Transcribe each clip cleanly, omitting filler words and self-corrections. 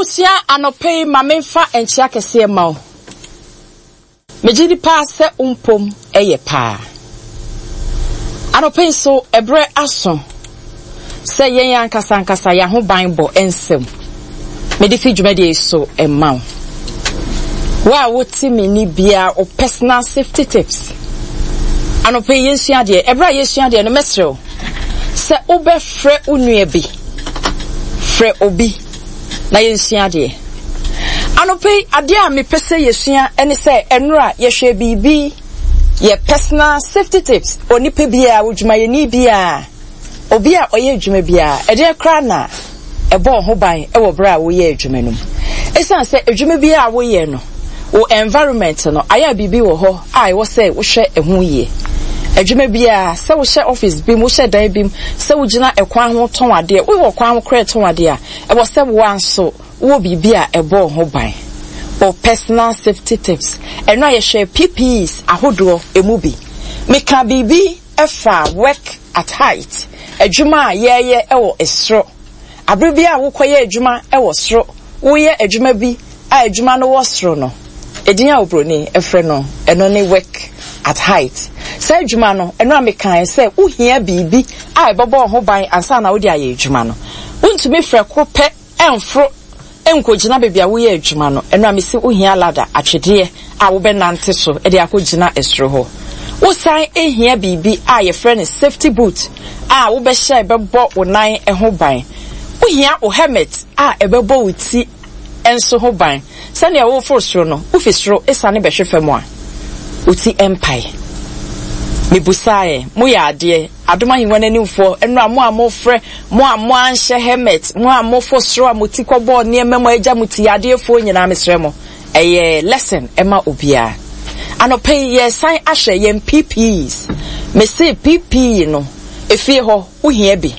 Abusua anɔpa yi ma memfa nkyea kɛseɛ ma wo. Megye di paa sɛ wo mpom yɛ paa. Anɔpa yi nso, ɛberɛ aso sɛ yɛn ankasa ankasa yɛn ahobanbɔ nsɛm mede fi dwumadie yi so ma wo. Wo a wote me ni biara, wo personal safety tips. Anɔpa yi yɛnsua adeɛ. Ɛberɛ a yɛsua adeɛ no, mɛsrɛ wo sɛ wobɛfrɛ wo nua bi. Frɛ obi. na yɛnsua adeɛ. Anɔpa yi, adeɛ a mepɛ sɛ yɛsua ne sɛ ɛnora yɛhwɛ biribi yɛ personal safety tips. Onipa biara, odwumayɛni biara, obi a ɔyɛ adwuma biara, ɛdeɛ koraa na ɛbɔ ho ban wɔ berɛ a woyɛ adwuma no mu. Ɛsiane sɛ adwuma biara a woyɛ no, wo environment no, ayɛ a biribi wɔ hɔ a ɛwɔ sɛ wohwɛ ɛho yie. Adwuma biara, sɛ wohyɛ office bi mu, wohyɛ dan bi mu, sɛ wogyina ɛkwan ho tɔn adeɛ, wowɔ kwan ho koraa tɔn adeɛ a, Ɛwɔ sɛ wo ara nso wowɔ biribi a ɛbɔ wo ho ban. Wo personal safety tips. Ɛno a yɛhwɛɛ PPEs ahodoɔ ɛmu bi. Mekaa biribi faa work at height, adwuma a yɛreyɛ wɔ soro. Abere biara a wokɔyɛ adwuma wɔ soro, woyɛ adwuma bi a adwuma no wɔ soro no, Edin a oburoni frɛ no ɛno ne work at height. Saa adwuma no, ɛno a mekae sɛ wohia biribi a ɛbɛbɔ wo ho ban ansa na wode ayɛ adwuma no. Wontumi frɛko pɛ mforo nkogyina baabi a woyɛ adwuma no. Ɛno a mese wohia ladder, atwedeɛ a wobɛnante so de akɔgyina soro hɔ. Wosan hia biribi a yɛfrɛ no safety boot a wobɛhyɛ a ɛbɛbɔ wo nan ho ban. Wohia wo helmet a ɛbɛbɔ wo ti nso ho ban. Sɛnea woreforo soro no, wufi soro siane bɛhwe fam a, wo ti mpae. Mibusae, Moyɛ adeɛ, Adom Ahengua no animfoɔ, nnora mo a mofrɛ, mo a moanhyɛ helmet, mo a mofo soro a mo ti kɔbɔɔ nneɛma mu a agya mo ti yadeɛfoɔ nyinaa, mesrɛ mo, ɛyɛ lesson ma obiara. Anɔpa yi, yɛresan ahwɛ yɛn PPEs. Mese PPE no, efie hɔ, wohia bi.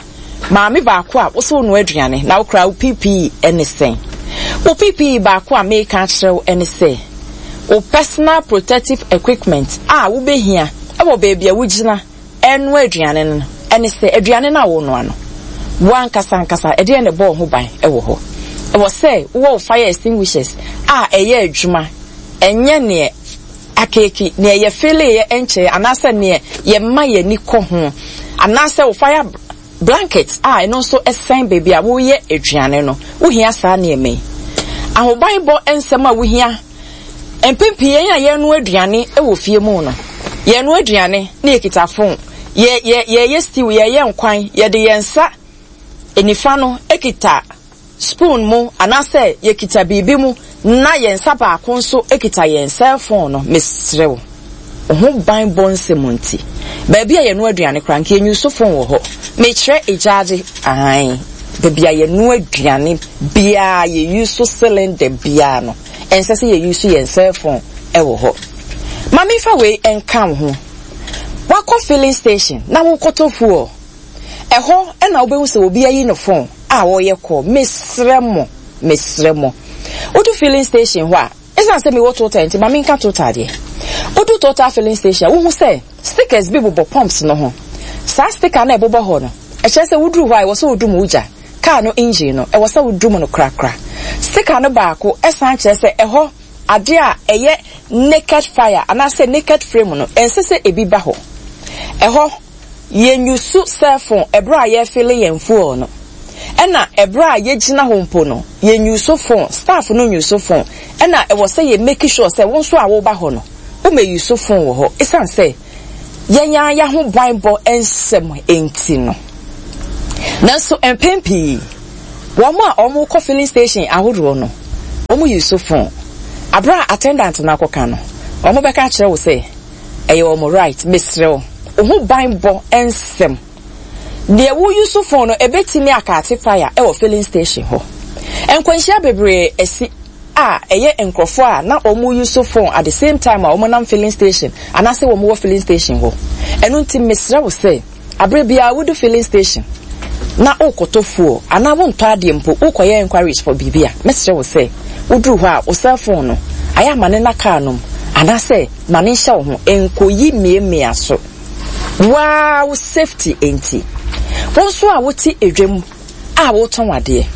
Maame baako a wose wonoa aduane na wokora wo PPE ne sɛn? Wo PPE baako a mereka akyerɛ wo ne sɛ, wo personal protective equipment a wobɛhia wɔ baabi a wogyina renoa aduane no ne sɛ, aduane no a worenoa no, wo ankasa ankasa ɛdeɛn na ɛbɔ wo ho ban wɔ hɔ? Ɛwɔ sɛ wowɔ wo fire extinguishers a ɛyɛ adwuma, ɛnyɛ neɛ akeeki, neɛ yɛfeeleeɛ nkyɛeɛ anaasɛ neɛ yɛma yɛn ani kɔ ho, anaasɛ wo fire blanket a ɛno nso sɛn baabi a woreyɛ aduane no. Wohia saa nneɛma yi. Ahobanbɔ nsɛm a wohia. Mpɛn pii yɛn a yɛrenoa aduane wɔ fie mu no, yɛrenoa aduane na yɛkita fon, yɛ, yɛ, yɛreyɛ stew, yɛreyɛ nkwan, yɛde yɛn nsa nifa no kita spoon mu anaasɛ yɛkita biribi mu na yɛn nsa baako nso kita yɛn cell phone no, mesrɛ wo, wo ho ban bɔ nsɛm nti, baabi a yɛnoa aduane koraa nka yɛnyusu phone wɔ hɔ. Mekyerɛ egyaagye, aane, baabi a yɛnoa aduane biara, yɛyusu cylinder biara no, ɛnsɛ sɛ yɛyusu yɛn cell phone wɔ hɔ. Ma memfa wei nka wo ho, wakɔ filling station na wokɔtɔ fuel, Ɛhɔ na wobɛhu sɛ obi ayi ne phone a ɔreyɛ call. Mesrɛ mo, mesrɛ mo. Wodu filling station hɔ a, ɛsiane sɛ mewɔ Total nti ma menka Total deɛ. Wodu Total filling station a, wohu sɛ stickers bi bobɔ pumps no ho. Saa sticker no a ɛbobɔ hɔ no, ɛkyerɛ sɛ woduru hɔ a ɛwɔ sɛ wodum wo gya. Car no engine no, ɛwɔ sɛ wodum no korakora. Sticker no baako san kyerɛ sɛ ɛhɔ adeɛ a ɛyɛ naked fire anaasɛ naked flame no, ɛnsɛ sɛ ebi ba hɔ. Ɛhɔ. Yɛnyusu cellphone ɛberɛ a yɛrefille yɛn fuel no. Ɛna ɛberɛ a yɛgyina hɔ mpo no, yɛnyusu phone, staff no nyusu phone. Ɛna ɛwɔ sɛ yɛ make sure sɛ wo nso a woba hɔ no, womɛyusu phone wɔ hɔ. Ɛsiane sɛ yɛn ara yɛahobanbɔ nsɛm nti no. Nanso mpɛn pii, wɔn a wɔkɔ filling station ahodoɔ no, wɔyusu phone. Aberɛ a attendant no akɔka no, wɔbɛka akyerɛ wo sɛ, Ɛyɛ wɔn right. Mesrɛ wo, wo ho ban bɔ nsɛm. Deɛ wo use phone no ɛbɛtumi akaate fire wɔ filling station hɔ. Nkwanhyia bebree asi a ɛyɛ nkorɔfoɔ a na wɔn use phone at the same time a wɔn nam filling station anaasɛ wɔn wɔ filling station hɔ. Ɛno nti mesrɛ wo sɛ aberɛ biara wodu filling station na worekɔtɔ fuel anaa wontɔ adeɛ mpo worekɔyɛ enquiries for biribi a, mɛsrɛ wo sɛ woduru hɔ a wo cell phone no ayɛ a ma no nna car no mu anaasɛ ma no nhyɛ wo ho, nkɔyi mmiamia so. Wo ara wo safety nti. Wo nso a wote dwam a woretɔn adeɛ,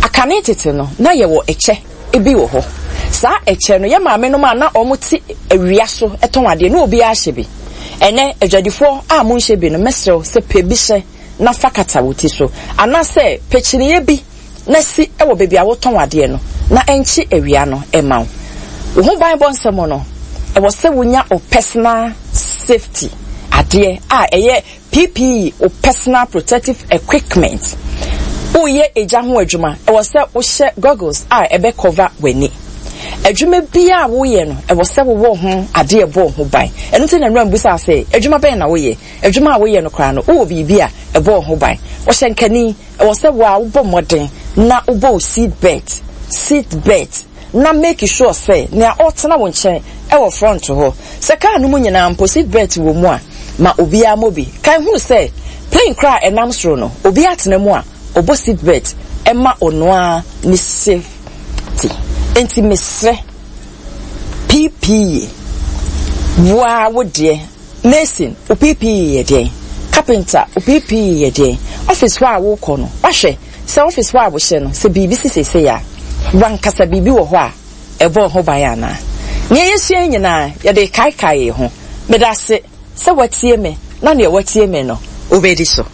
aka. Kane tete no, na yɛwɔ ɛkyɛ bi wɔ hɔ. Saa ɛkyɛ no, yɛn maamenom a na wɔte awia so tɔn adeɛ, na obiara hyɛ bi. Ɛnnɛ, adwadifoɔ a monhyɛ bi no, mɛsrɛ wo sɛ pɛ bi hyɛ na fa kata wo ti so. Anaasɛ pɛ kyiniiɛ bi na si wɔ baabi a wotɔn adeɛ no na ɛnkye awia no mma wo. Wo ho banbɔ nsɛm no, ɛwɔ sɛ wonya wo personal safety adeɛ a ɛyɛ PPE, wo personal protective equipment. Woreyɛ egya ho adwuma, ɛwɔ sɛ wohyɛ goggles a ɛbɛ cover w'ani. Adwuma biara a woyɛ no, ɛwɔ sɛ wowɔ ho adeɛ ɛbɔ wo ho ban. Ɛno nti na nnora mbisaa sɛ, adwuma bɛn na woyɛ? Adwuma a woyɛ no koraa no, wowɔ biribi a ɛbɔ wo ho ban? Ɔhyɛnkani, ɛwɔ sɛ wo ara wobɔ mmɔden na wobɔ wo seat belt, seat belt, na make sure sɛ nea ɔretena wo nkyɛn wɔ front hɔ, sɛ car no mu nyinaa mpo seat belt wɔ mu a, ma obiara mmɔ bi. Kae hunu sɛ plane koraa a ɛnam soro no, obiara tena mu a, ɔbɔ seat belt ma ɔno ara ne safety. Enti mesrɛ, PPE, wo ara wo deɛ. Mason, wo PPE yɛ deɛn? Carpenter, wo PPE yɛ deɛn? Office hɔ a wokɔ no, woahwɛ sɛ office hɔ a wohyɛ no, sɛ biribi si seesei a, w'ankasa biribi wɔ hɔ a ɛbɔ wo ho ban anaa? Nea yɛasua yi nyinaa, yɛde rekaekae yɛn ho. Meda ase sɛ woatie me, na nea woatie me no, wobɛdi so.